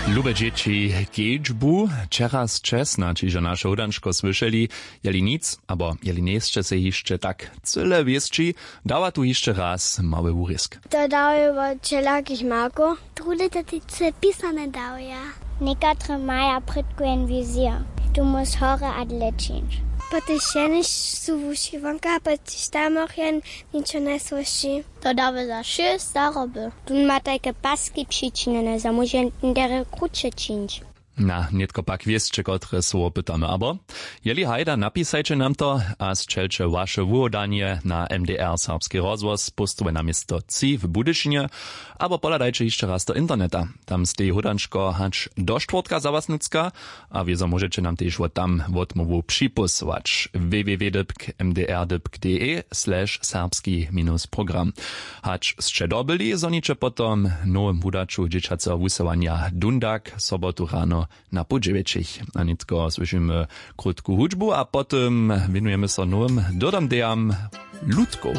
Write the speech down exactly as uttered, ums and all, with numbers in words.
Lube dźěći, kedźbu wčera sće snadź hižo naše hódančko słyšeli. Jeli nic abo jeli njejsće sej hišće tak cyle wěsći, dawa tu hišće raz mały wurězk. To dałuje wot wšelakich markow. Druhdy to tež pisane dałuje. Někatry maja prědko jen wizija, tu móž hory a dle čińć. Potež jenož su wuši wonka, potež tam och jen ničo njesłyši. To dawy za šěsć zaroby. Tón ma tajke paski přičinjene, zo móže derje kruće čińć. Na nětko pak wěsće kotre słowo pytamy abo jeli hajda, napisajće nam to a sćelće waše wuhładanje na M D R serbski rozhłos póstowe na město tři w budyšinje. Abo pohladajće hišće raz do interneta, tam steji hódančko hač do štwórtka za was nutřka. A wězo móžeće nam tež wot tam wotmołwu připósłać: www dypk mdr dypk de slash serbski minus program. Hač sće dobyli, zhoniće potom w nowym wudaću dźěćaceho wusyłanja dundak sobotu rano na pół dźewjećich. A nětko słyšimy krótku hudźbu a potom wěnujemy so nowym dyrdomdejam ludkow.